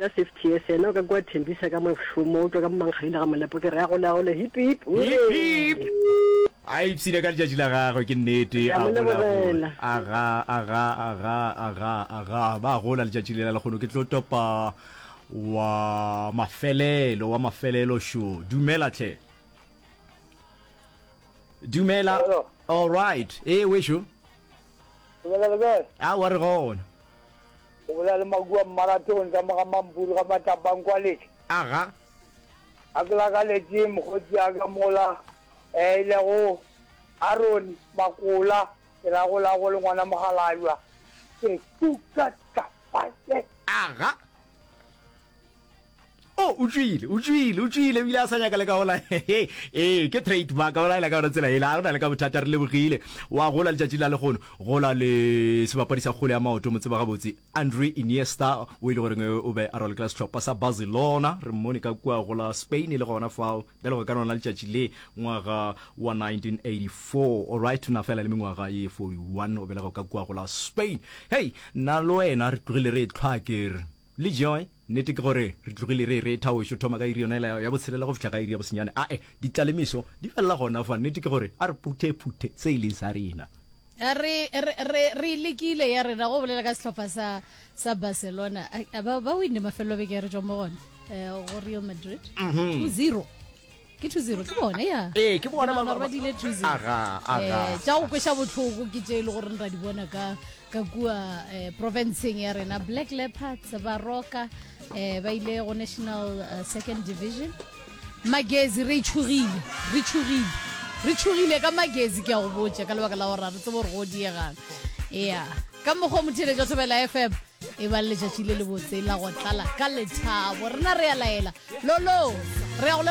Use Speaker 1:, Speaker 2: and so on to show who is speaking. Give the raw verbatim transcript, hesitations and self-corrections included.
Speaker 1: bitša Safety S yena o ka kua Thembisa ka mošomo o tšwa ka Mankgaile ga Molepo ke re a gole a gole hip hip
Speaker 2: Hip hip. A ipshine ka letšatši la gagwe ke nnete
Speaker 1: Ke a
Speaker 2: a
Speaker 1: mo
Speaker 2: gola gola
Speaker 1: lebogela.
Speaker 2: aga aga aga aga aga ba gola letšatši lela lekgono ke tlo topa wa mafelelo wa mafelelo šo dumela tlhe dumela
Speaker 3: Hello.
Speaker 2: all right ee wešo
Speaker 3: Dumela le kae?
Speaker 2: a wa re gona
Speaker 3: O bolela le Makua Marathon ka mo ga Mampuru ga Matlapang kwa Letse.
Speaker 2: aga
Speaker 3: A ke lakaletše mokgotsi a ka mola eh, e lego Aaron Makola ke ra gola go le ngwana mogalajwa ke tuka tapaye.
Speaker 2: aga o o tšwile o tšwile o tšwile ebile a sa nyaka le ka gola ee ke trademark o laela ka yona tsela ela a go na le ka bothata re lebogile wa gola letšatši la legono gola le sebapadi sa kgole ya maoto mo tseba gabotse Andre Iniesta o e le goreng o be a ralokela sehlopha sa Barcelona re mmone ka kua gola Spain le gona fao bjale go ka lona letšatši le ngwaga wa nineteen eighty four alright na fela le mengwaga ye forty one o belega ka kua gola Spain. Hei, nna le wena re tlogile re tlhwa kere le joy nnete ke gore re tlogile re re thaošo thoma ka iri yona ela ya botshelela go fihla ka iri ya bosenyane ae ditlalemeso di felela gona fa nnete ke gore a re phuthe phuthe se e leng sa rena.
Speaker 4: Re re re re lekile ya rena go bolela ka sehlopha sa sa Barcelona. A- ba ba winne mafelelo beke re tswa mo gona eh, go Real Madrid two zero ke two zero ke bone ya.
Speaker 2: Ee, ke bona ba-
Speaker 4: Ke nagana gore ba dile two zero.
Speaker 2: Aga, aga.
Speaker 4: Eh, tša go kweša bohloko ke tše e le gore ra di bona ka ka kua eh, provinceng ya rena. Black Leopards ba roka eh, ba ile go national eh, second division. Magezi re tšhogile re tšhogile re tšhogile ka Magezi ke a go botša ka lebaka la gore ga re tsebe gore go diegang ya ka mokgwa o motheletša Thobela F M e ba le letšatši le lebotse la go tlala ka lethabo rena re a laela lolo re ya go leboga.